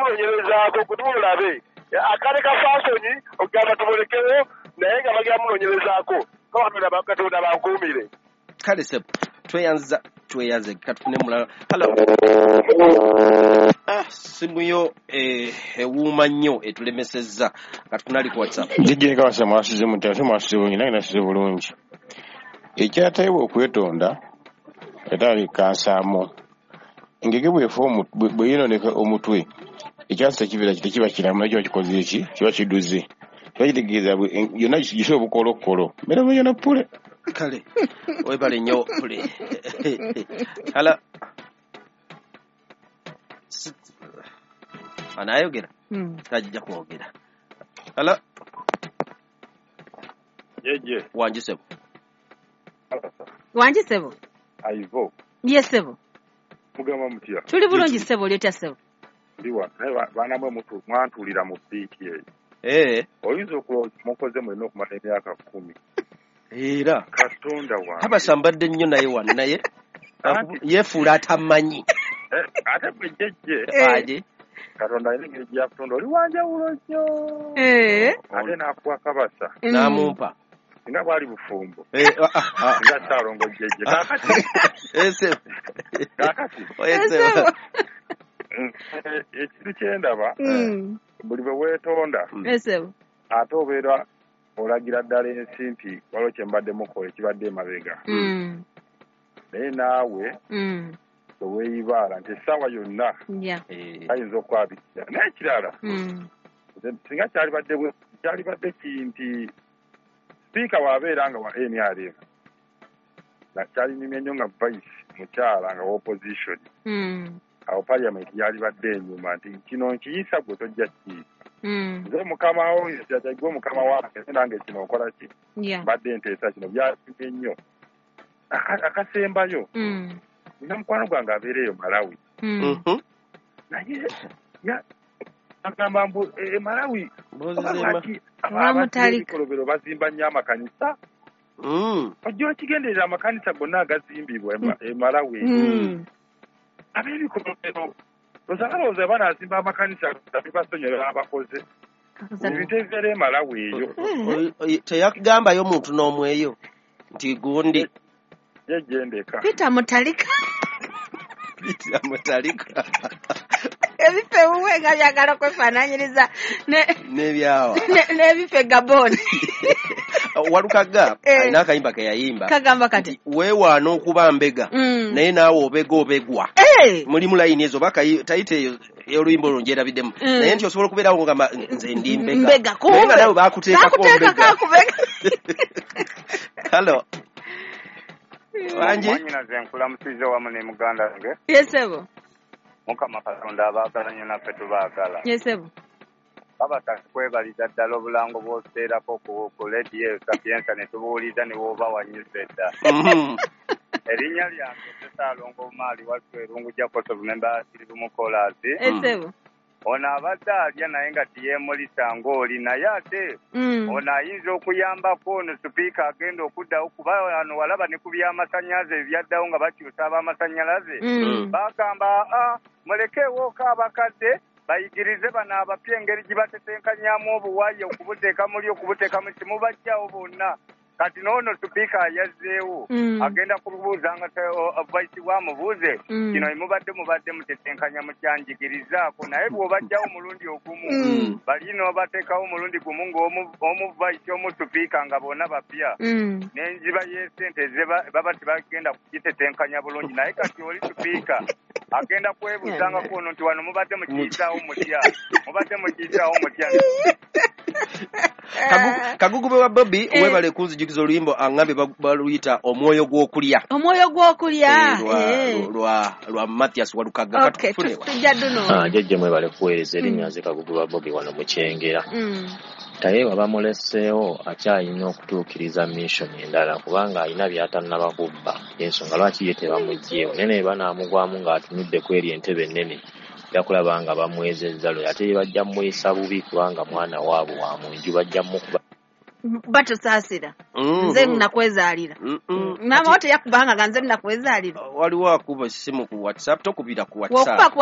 munoonyerezaako kutumulabe akale ka fasoni okugamba tumulekewo naye nga bagenda munoonyerezaako Katonda bankuumire. Kale sebo tweyanze katufune mulala. Hello. Simu yo ewuuma nnyo etulemesezza. Katufune ali ku WhatsApp. Jjajja Kabasa mwasuze mutya? Ate mwasuze bulungi, nange nasuze bulungi. Ekyateebwa okwetonda era kansaamu. Engege bw'efa bwe yeeyonooneka omutwe, ekyansi tekibeera tekiba kiramu nakyo kikoze eki kiba kiduze. Kiba kitegeeza yonna gise obukolokolo. Mbeera bulungi na ppule. Kale webale nnyo pule. Hala. Anayogera? Tajja kwogera. Hala. Jeje. Wangi sebo. Wangi sebo. Aivo. Yes sebo. Mugamba mutya. Tuli bulungi sebo oli otya sebo. Ndiwa naye baana mwe mwantuulira mu biiti eyo. Oyinza okulowooza mukoze mwenna okumala emyaka 10. Era Katonda wange. Kabasa mbadde nnyo naye wano naye yeefuula atamanyi. Ate gwe jjejje. Katonda alina engeri gy'akutonda oli wanjawulo nnyo. Ate n'akuwa Kabasa. N'amumpa. Singa bwali bufumbo. Nga Ssaalongo jjejje. Kaakati. Ekintu kye ndaba buli bwe weetonda ate obeera olagira ddala ensi nti waliwo kye mbadde mukola ekibadde emabega. Naye naawe teweeyibaala nti essaawa yonna ayinza okwabikira. Naye ekirala singa kyalibadde nti sipiika bw'abeera nga wa NRM kyalinyumye nnyo nga vice mukyala nga wa opposition. Awo parliament yalibadde enyuma nti kino nkiyisa gwe tojja kiyisa. Nze mukama wo gwe mukama wange nange kino nkola ki mbadde nteesa kino byalinyumye nnyo. Akasembayo nina mukwano gwange abeera eyo Malawi. Naye agamba mbu e Malawi abamutalika bazimba nnyo amakanisa. Ojja okigenderera amakanisa gonna agazimbibwa e Malawi. Ab'ebikolobero lowooza banaazimba amakanisa bibasonyiwa abakoze. Ebintu ebibeera e Malawi eyo. Teyakugambayo muntu n'omu eyo nti gundi. Jejendeka. Peter Mutalika. Peter Mutalika. Ebifo ewuwe nga byagala okwefaanaanyiriza n'ebyawa. N'ebifo e Gabon. Walukaga alina akayimba ke yayimba. Kagamba kati. Weewaana okuba mbega naye naawe obega obegwa. Mulimu layini ezo tayite oluyimba olwo ngyerabiddemu. Naye nti osobola okubeerawo ng'ogamba nze ndi mbega. Naye nga naawe baakuteekako mbega. Hello. Wangi. Mwannyinaze nkulamusizza wamu ne muganda wange. Yes sebo. Mukama Katonda abaagala nnyo naffe tubaagala. Yes sebo. Kabasa kwebaliza ddala obulango bw'otuteerako ku leediyo Sapienza ne tubuwuliza ne bw'oba wannyuse dda. Erinnya lyange Ssaalongo Maali Wasswa Erungu Jacob memba Siribumu Koolaasi. Yes sebo. Ono abadde alya naye nga teyeemulisa ng'oli naye ate ono ayinza okuyambako ono sipiika agenda okuddawo kuba wano walaba ne ku by'amasannyalaze ebyaddawo nga bakyusa ab'amasannyalaze. Bagamba mulekeewooko abakadde bayigirize bano abapya engeri gye batetenkanyamu obuwayi okubuteeka muli okubuteeka mu kimubajjawo bonna. Kati n'ono sipiika yazzeewo agenda kubuuza nga vice bwamubuuze kino mubadde mutetenkanya mukyanjigirizaako naye bw'obajjawo omulundi ogumu bali n'obateekawo omulundi gumu ng'omu vice omu sipiika nga bonna bapya n'enjiba y'essente baba tebagenda kugitetenkanya bulungi naye kati oli sipiika agenda kwebuuzangako ono nti wano mubadde mukiyisaawo mutya mubadde mukiyisaawo mutya. Kagugube wa Bobby webale kunzijukiza oluyimbo angambe baluyita omwoyo gw'okulya. Omwoyo gw'okulya lwa Mathias Walukaga. Katufune tujja duno. Jjajja mwebale kuweereza erinnya nze Kagugube wa Bobby wano mu Kyengera. Tayewa bamuleseewo akyalina okutuukiriza mission endala kubanga alina by'atannaba kubba. Ensonga lwaki ye tebamuggyeewo naye ne banaamugwamu ng'atunudde ku eri entebe ennene yakulaba nga bamwezezza lwe ate bajja muyisa bubi kubanga mwana waabwe wa mu nju bajja mukuba. Batusaasira nze nnakwezaalira. Maama wo teyakubanga nga nze nnakwezaalira. Waliwo akuba essimu ku WhatsApp, tokubira ku WhatsApp. Bw'okuba ku